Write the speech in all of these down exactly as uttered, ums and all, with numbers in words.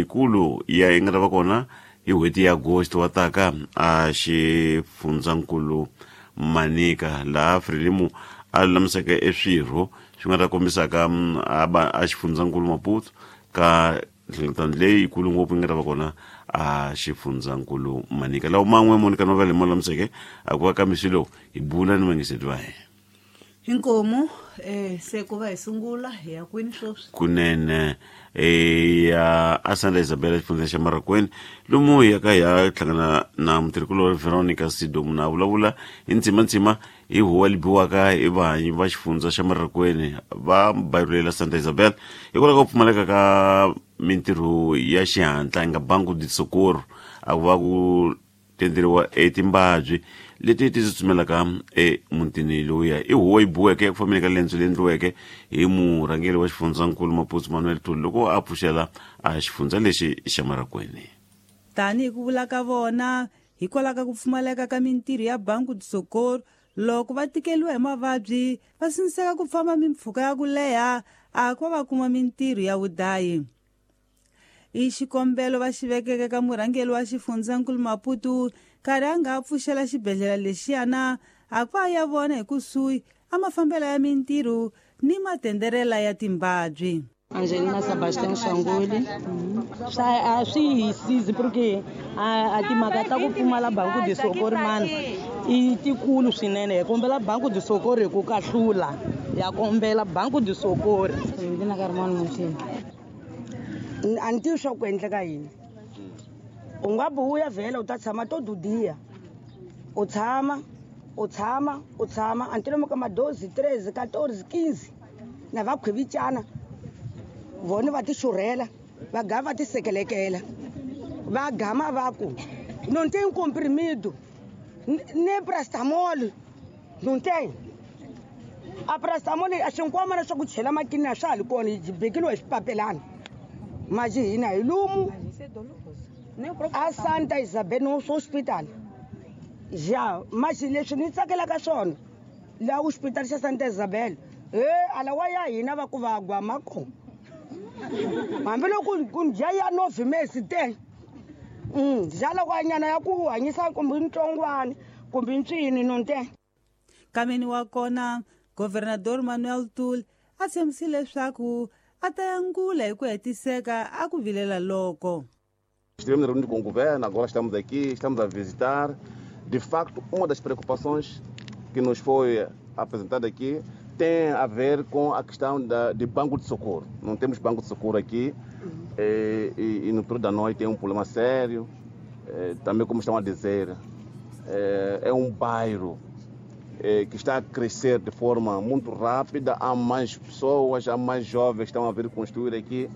leyikulu ya yi nga ta va kona hi n'hweti ya Agosto wa taka a xifundzankulu Manica, laha Frelimo a lulamiseke eswirho swi nga ta kombisaka a xifundzankulu Maputo ka nhlengeletano leyikulu ngopfu yi nga ta va kona a xifundzankulu Manica. Lawo man'we Monica Novela hi ma lulamiseke a ku va ka misi lowu hi bula ni vangiseti va hina. Inkomu eh se ku va hi sungula hi ya kwini sweswi? Kunene eh ya a Santa Isabel xifundza xa Marracuene, lomu hi ya ka hi ya hlangana na mutirhikulori Veronica Sidomu na vulavula hi ntsimantsima hi huwa libiwaka hi vahanyi va xifundza xa Marracuene va bayirulela Santa Isabel hikwalaho ka ku pfumaleka ka mintirho ya xihatla yi nga Banco de Socorro, a ku va ku tenderiwa etimbabyi leti ti tsutsumelaka emutini lowuya. I huwa yi biweke eku fambeni ka lendzo leyi endliweke hi murhangeri wa xifundzankulu Maputo Manuel Tuli loko a pfuxela a xifundza lexi xa Marracuene. Tanihi ku vula ka vona, hikwalaho ka ku pfumaleka ka mintirho ya Banco de Socorro, loko va tikeriwa hi mavabyi va sindziseka ku famba mimpfhuka ya ku leha a ku va va kuma mintirho ya vudayi. I xikombelo va xi vekeke ka murhangeri wa xifundzankulu Maputo nkarhi a nga pfuxela xibedhlele lexiyana a ku a ya vona hi kusuhi a mafambelo ya mintirho ni matenderela ya timbabyi. Angelina Sebastian Shanguli. Swa a swi hi sizi porque a timhaka ta ku pfumala Banco de Socorro mani i tikulu swinene. Hi kombela Banco de Socorro hi ku kahlula, ya kombela Banco de Socorro. Ndzi ka rin'wana muchini. A ni tivi swa ku endleka yini. U nga vuya vhela u ta tshama to dudiya, u tshama u tshama u tshama a ni lomu ka madozi treze quatorze quinze na va khwevicana vona va ti xurhela va gama va ti sekelekela va gama va ku não tem comprimido nem paracetamol, não tem a paracetamol. A xinkwamana swa ku chela makini a swa ha ri kona, yi bekiliwa hi swipapelana maji hina hi lumu a Santa Isabel no hospital. Ja maji leswi ni tsakelaka swona laha hospital xa Santa Isabel he alawa ya hina va ku va gwama kona hambiloko ku dya ya nove mesi te mm dya lakwanyana ya ku hanyisa kumbe ntsongwana kumbe ntswini no nte. Kameni wa kona Governador Manuel Tuli a tshembisile leswaku a ta yangula hi ku hetiseka a ku vilela loko. Estivemos reunidos com o governo, agora estamos aqui, estamos a visitar. De facto, uma das preocupações que nos foi apresentada aqui tem a ver com a questão da, de banco de socorro. Não temos banco de socorro aqui e, e, e no período da noite tem um problema sério. E, também, como estão a dizer, é, é um bairro é, que está a crescer de forma muito rápida. Há mais pessoas, há mais jovens que estão a vir construir aqui.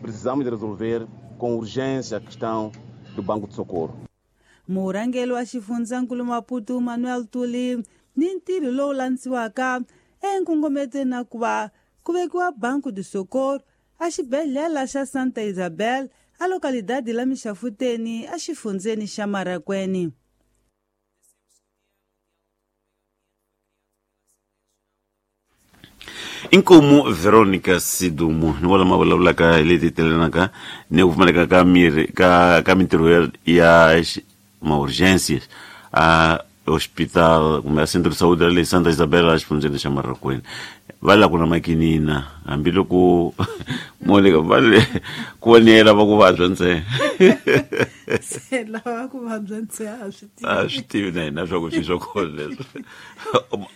Precisamos de resolver com urgência a questão do banco de socorro. Murhangeri wa xifundzankulu Maputo Manuel Tuli ni ntirho lowu landziwaka enkongometweni na ku va ku vekiwa Banco de Socorro a xibedhlele xa Santa Isabel a localidade la Mixafuteni a xifundzeni xa Marracuene. Inkomu Veronica Sidumu ni wala ma vulavulaka hi leti telenaka ni ku pfumaleka ka mirhi ka ka mintirho ya, ya ma-urgências a hospital kumbe a centro de saúde le Santa Isabel a xifundzeni xa Marracuene. Va la ku na makinina hambiloko Monica va le ku vonela va ku vabya ntsena. Se lava ku vabya ntsena a swi tivi. A swi tivi na hina swa ku swi swa kona leswi.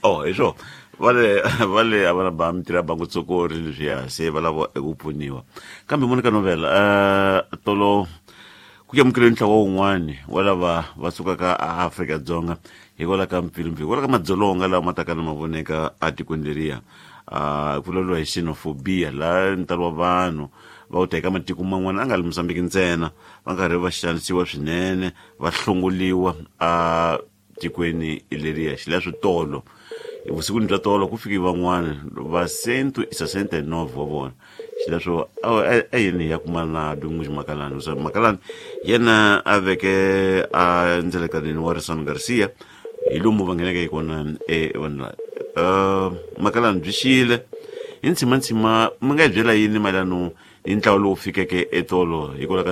Oh, hi swona va le va le a va na ba mintirho ya Banco de Socorro leswiya se va lava eku pfuniwa. Kambe Monica Novela uh, tolo ku amukeriwe ntlawa wun'wani wa lava va sukaka a Afrika-Dzonga hikwalaho ka mpfilumpfilu, hikwalaho ka madzolonga lawa ma taka na ma voneka etikweni leriya. Uh, ku vulavuriwa hi xenophobia laha ntalo wa vanhu va wu teka matiko man'wana a nga li Mozambique ntsena va karhi va xanisiwa swinene va hlongoliwa a tikweni leriya. Xileswo tolo vusikwini bya tolo ku fike van'wana va cento e sessenta e nove wa vona. Xileswo a yini ya kuma na Dumuz Makalani. Makalani yena a veke a ndzelekaneni wa Rison Garcia hi lomu va ngheneke hi kona e vanhu lava. Uh, Makalani byi xile hi ntshimantsima mi nga hi byela yini mayelano hi ntlawa lowu fikeke etolo hikwalaho ka